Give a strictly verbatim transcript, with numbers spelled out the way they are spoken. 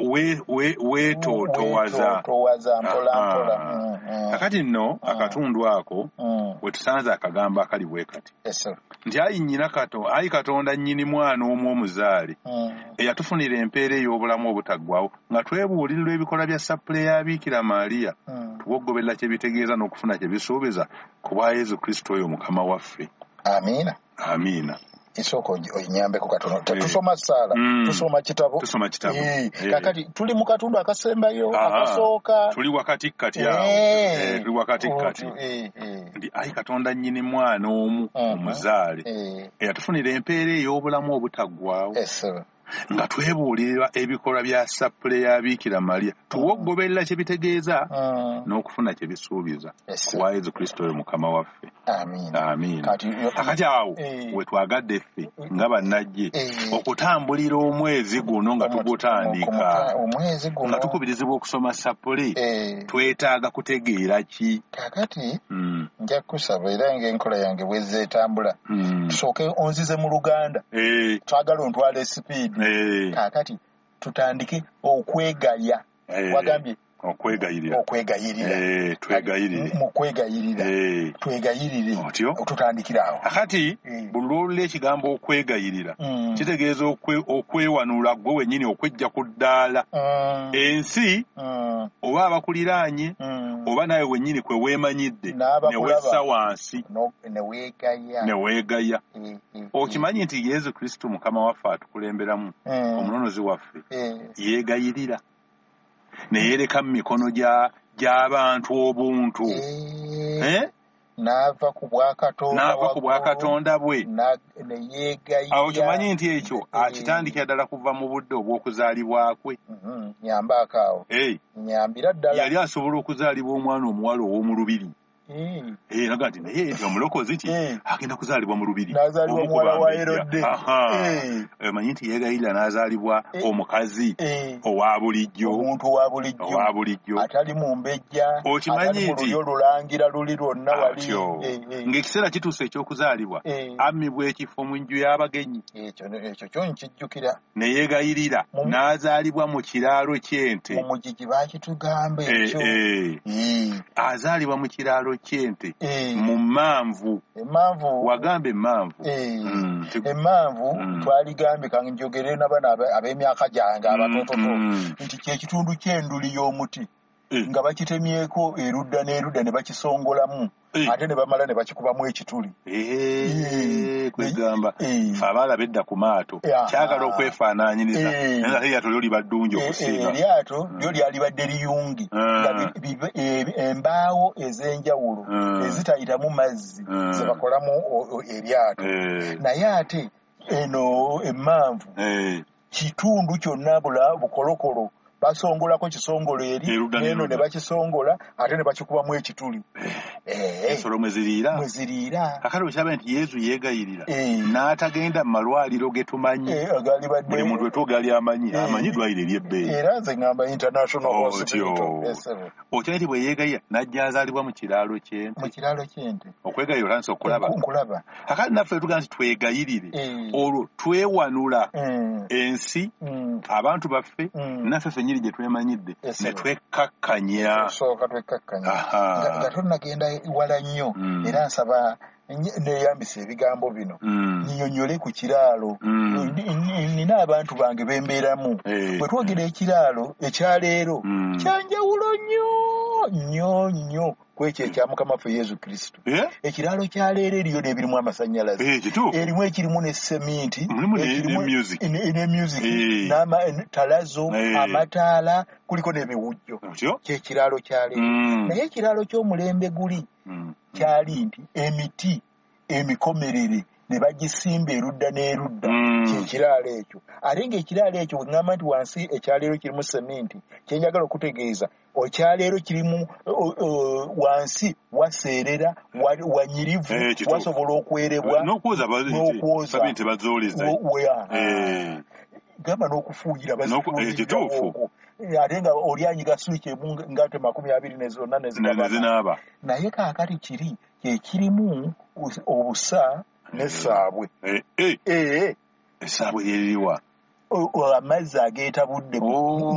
Weetootowaza. Weetootowaza mpola mpola. Mm, mm. Kakati nno akatundu ako Mm. wetusanze akagambo akali bwe kati Yes, sir. nti ayi nnyina kato ayi Katonda nnyini mwana omu omuzaale Mm. eyatufunira empeera ey'obulamu obutaggwaawo nga twebuulirirwa ebikolwa bya sappule ya Biikira Maria, Mm. tuwogoberera kye bitegeeza n'okufuna kye bisuubiza ku bwa Yesu Kristo oyo Mukama waffe. Amiina. Amiina. Esooka onyambeko katono. Eh. Tusoma ssaala, Mm. tusoma kitabo. Tusoma kitabo. Eh, Eh. Kakati tuli mu katundu akasembayo, Aha. akasooka. Tuli wakati kati awo. Eh. Eh, tuli wakati kati. Eh, eh. Nti ayi Katonda nnyini mwana omu Mhm. omuzaale Eh. eyatufunira empeera ey'obulamu obutaggwaawo Yes, sir. nga twebuulirira ebikolwa bya sappule ya Biikira Maria, tuwogoberera kye bitegeeza Mm. n'okufuna kye bisuubiza Yes, ku sir. bwa Yesu Kristo oyo Mukama waffe. Amiina. Amiina. Kati Kakati awo Eh. wetwagadde ffe nga bannajje Eh. okutambulira omwezi guno nga tugutandika, omwezi guno nga tukubirizibwa okusoma sappule, Eh. twetaaga kutegeera ki? Kakati Mm, nja kusaba, era ng'enkola yange bwezzeetambula, mm. tusooke onzize mu Luganda. Eh, Twagala ontwala esipiidi. eh, Kaakati tutandike okwegaya. eh, Wagambye okwegayirira. Okwegayirira. Eh, twegayirire. Mu kwegayirira, Eh, twegayirire. Otyo. Tutandikira awo. Kakati Eh. buli lw'olula ekigambo okwegayirira, Mm. kitegeeza okwe- okwewanula gwe wennyini, okwejja ku ddaala Mm. ensi Mm. oba abakuliraanye Mm. oba naawe wennyini kwe weemanyidde, N'abakulaba. ne wessa wansi, No- ne weegaya. Ne weegaya. Eh, eh, Okimanyi nti Yesu Kristo Mukama waffe atukulemberamu, eh. omunonozi waffe, Eh. yeegayirira ne yeereka mu mikono gya- gy'abantu obuntu. Eh. Eh? N'ava ku bwakatonda N'ava ku waggulu, bwakatonda bwe. na- ne yeegayira. Awo kimanyi nti ekyo Eh. akitandikira ddala kuva mu budde obw'okuzaalibwa kwe. Mhm, nyambaako awo. Eh, nyambira ddala. Yali asobola okuzaalibwa omwana omuwala ow'omu lubiri. Eh. Eh, naga nti naye nti omulokozi ki Eh. agenda kuzaalibwa mu lubiri. N'azaalibwa Omu ku muwala wa bambejja. Herode. Aha. Eh. Omanyi nti yeegayirira n'azaalibwa Eh. omukazi Eh. owa bulijjo. Omuntu owa bulijjo. Owa bulijjo. Atali mu mbejja, Okimanyi atali mu nti- lulyo lulangira luli lwonna wali. Atyo. Eh, eh. Ng'ekiseera kituuse eky'okuzaalibwa, Eh. ammibwa ekifo mu nju y'abagenyi, ekyo ekyo kyo nkijjukira. Ne yeegayirira Mu- n'azaalibwa mu kiraalo ky'ente. Mu mugigi baakitugamba Eh, ekyo. eh. Eh. Azaalibwa mu kiraalo ky'ente Eh. mu mmanvu. Emmanvu. Wagamba emmanvu. Eh. Mm, ti- Emmanvu Mm. twaligambye, kanjogere nabano abe- ab'emyaka gyange abatototo, Mm. nti kyekitundu ky'enduli y'omuti Eh. nga bakitemyeko erudda n'erudda ne bakisongolamu, Eh. ate ne bamala ne bakikubamu ekituli. Eh, Eh. Kwegamba Eh. fe abaala bedda ku maato Eh, aha. kyagala okwefaanaanyiriza, Eh. naye nga ate eryato lyo liba ddungi Eh, eh, okusinga. Eryato lyo lyalibadde liyungi, Mm. nga bi- bi- e- embaawo ez'enjawulo Mm. ezitayitamu mazzi Mm. ze bakolamu o- o- eryato. Eh, Naye ate eno emmanvu eh, kitundu kyonna bula bukolokolo, basongolako kisongolo eri Erudda n'eno n'erudda. ne bakisongola ate ne bakikubamu ekituli. Eh, Ensolo mwe ziriira. Mwe ziriira. Kakati okirabe nti Yesu yeegayirira Eh. n'atagenda mu malwaliro ge tumanyi. Eh, agalibadde Buli muntu wetwogali amanyi, Eh. amanyi eddwaliro ery'ebbeeyi. Era nze ŋŋamba International Otyo. Hospital. Yes, sir. Okimanyi nti bwe yeegayirira n'ajja azaalibwa mu kiraalo ky'ente? Mu kiraalo ky'ente. Okwegayirira otandise okulaba. Nkulaba. Kakati naffe tugamba nti twegayirire, Eh. olwo twewanula Mm, ensi, mm, abantu baffe, Mm. naffe ffennyini gye twemanyidde, Yes, ne sir. twekkakkanya. Sooka twekkakkanya. Aha. Nga nga tonnagenda wala nnyo, Mm. era nsaba nye- neeyambisa ebigambo bino Mm. nnyonnyole ku kiraalo. Mm. Ni- ni- nina abantu bange bembeeramu. Eh. Bwe twogera ekiraalo ekyaleero, Mm. kyanjawulo nnyo nnyo nnyo ku ekyo ekya Mukama waffe Yesu Kristo. Eh? Ekiraalo kya leero eriyo n'ebirimu amasannyalaze, Eh, kituufu. erimu ekirimu ne seminti, Mulimu ne- ekirimu ne music. ne ne music, Eh. n'ama- talazo, Eh. amataala, kuliko n'ebiwujjo. Otyo? Kyekiraalo kya leero. Mm. Naye ekiraalo ky'omulembe guli Mm. kyali nti emiti emikomerere ne bagisimba erudda n'erudda. Mm. Kyekiraalo ekyo. Ate ng'ekiraalo ekyo bwe ŋŋamba nti wansi ekyaleero kirimu seminti, kyenjagala okutegeeza ekyaleero kirimu o- o- wansi waseerera, wa- wanyirivu, Eh, kituufu. wasobola okwerebwa. N'okwoza ba- N'okwoza. sabi nti bazooleza. Wo- we- Eh. Gamba n'okufuuyira. N'oku- eh, kituufu. Okwo ate nga oli anyiga swiki emu nga te makumi abiri ne zonna ne Ne- ne zigabana. zinaaba. Naye kaakati kiri kyekirimu obusa n'essaabwe. Eh, eh, Ee. Essaabwe lyeririwa? o- o- amazzi ageetabudde mu- Oh.